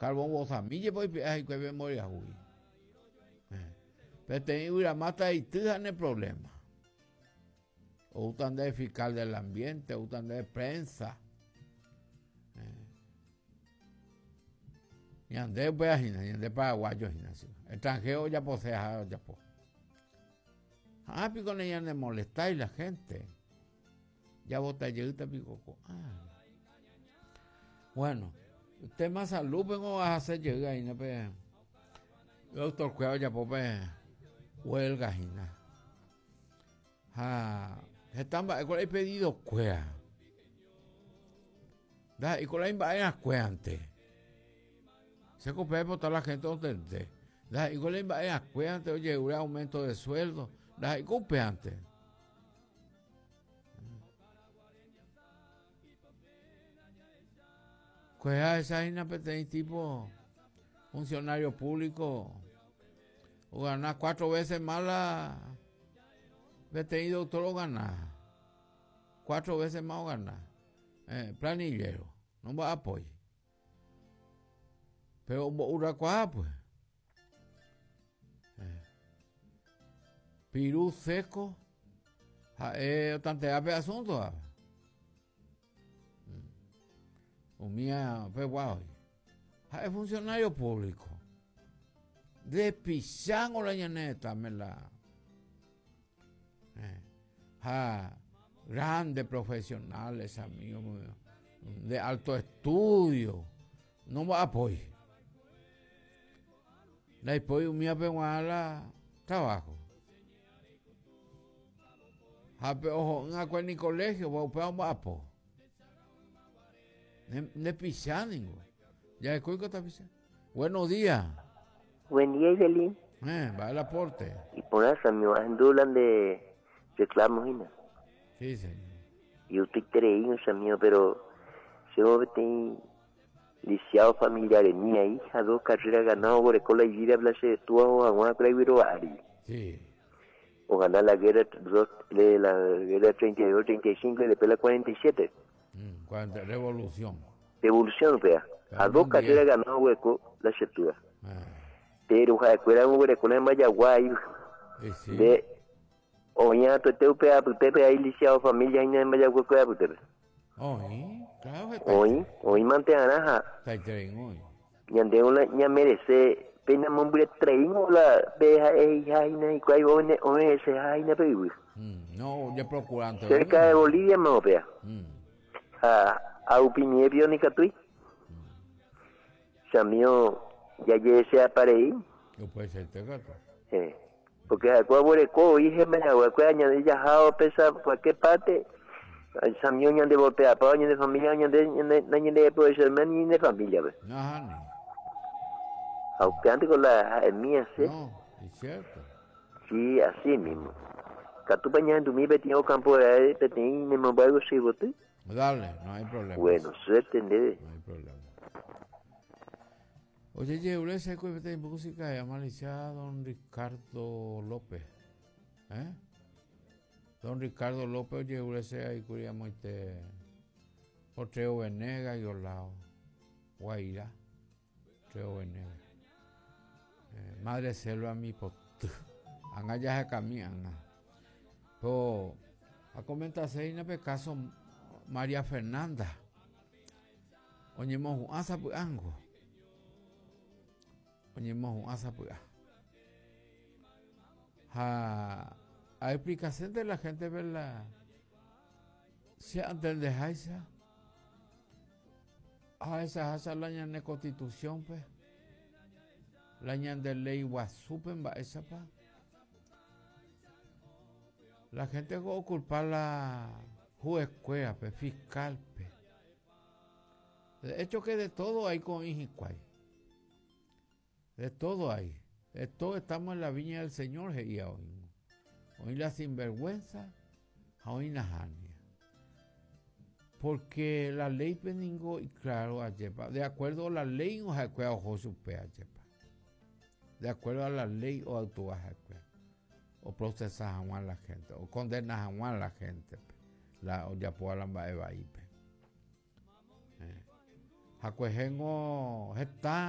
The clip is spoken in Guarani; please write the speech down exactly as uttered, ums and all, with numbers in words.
Carbón vosami jepe oipe'a hikuái pe mboriahúgui. Peteĩ yvyramáta eity ha ne problema. Oúta ndéve fiscal del ambiente, oúta ndéve prensa. Ñande upéva hína, ñande paraguayo hína. Extranjero ojapose ha ojapo. Ha piko ne ñanemolestái la gente. Javota jeýta piko ko'ág̃a. Bueno, tema salud pengo ahase jey aína pe doctor kuéra ojapo pe huelga hína. Ha heta mba'e pedido kuéra. Ndaha'éi mba'erãkuéante. Che ko pépe la gente ontende. Ndaha'éi mba'erãkuéante ojerure aumento de sueldo. Ndaha'éi ko upéante. Kuéra esa hína peteĩ tipo funcionario público ogana cuatro veces más la peteĩ doctor ogana. Cuatro veces más ogana. Eh, planillero, no mba'apói. Pero ombo'urakuaa pues. Eh. Piru seco ha'e otantea pe asunto. Umía pegua hoy. Ha'e funcionario público. Despichango la ñaneta me la. Eh. Ja, grandes profesionales, amigos míos, de alto estudio. No va apoy. La apoy umía pegua la trabajo. Ja, pe ojo, en ni colegio, va upéva mba'apo. Ne pichá ningo. Ya es cuico está pichá. Buenos días. Buen día, Ivelin. Eh, va el aporte. Y por eso, mi andulan de reclamo, hina. Sí, señor. Y usted creí, amigo, pero yo tengo lisiado familiares, mi hija, dos carreras ganado por escuela y vida, place de tu a una Sí. O ganar la guerra, dos, de la guerra treinta y dos, treinta y cinco y después la cuarenta y siete. Mm, cuarenta, revolución. Revolución, vea. A dos carreras ganó hueco la septura. Ah. Pero era un hueco en Mayagüey. Sí. De oña tu pe pe ahí lisiado familia en Mayagüey pe. Oí, claro. Oí, oí manteanaja. Está hoy. Ñande una ña merece pena mombre trein o la beja hija y cuál one one ese jaina pe. No, ya procurante. Cerca de Bolivia me vea. Mm. A a upinie ni catui. Samio ya llegué a pareí. Yo puede ser te gato. Eh, porque a cuál hije me la voy a añadir ya jao pesa cualquier parte. Samio ñande voltea pa ñande familia ñande ñande de puede ser ni de familia, ve. No, no. Aunque antes con la mía, sí. No, es cierto. Sí, así mismo. Catupa ñande mi petío campo de petín ne me voy a bote. Dale, no hay problema. Bueno, suerte, nede. No hay problema. Oye, llevo ese de música de amalizada don Ricardo López. ¿Eh? Don Ricardo López, oye, ese ahí curíamos este Otreo Venegas y Olao. Guaira. Otreo Venegas. Eh, madre selva mi pot. Anga ya se camina. Pero a comentarse en el caso María Fernanda. Oñemo juanza puango. Oñemo juanza pua. Ja, a explicación de la gente, ¿verdad? Si antes de esa, a esa esa la ñane constitución, pues. La ñande ley guasupen va esa pa. La gente va a culpar la juez, pues, fiscal, pues. De hecho que de todo hay con Ijicuay. De todo hay. De todo estamos en la viña del Señor, jeía hoy. Hoy la sinvergüenza, hoy la jania. Porque la ley peningo y claro, ayepa, de acuerdo a la ley o ojo supe ayepa. De acuerdo a la ley o actúa o procesas a la gente, o condenas a la gente, la o ya puedo la eba ipe. Jacuejengo está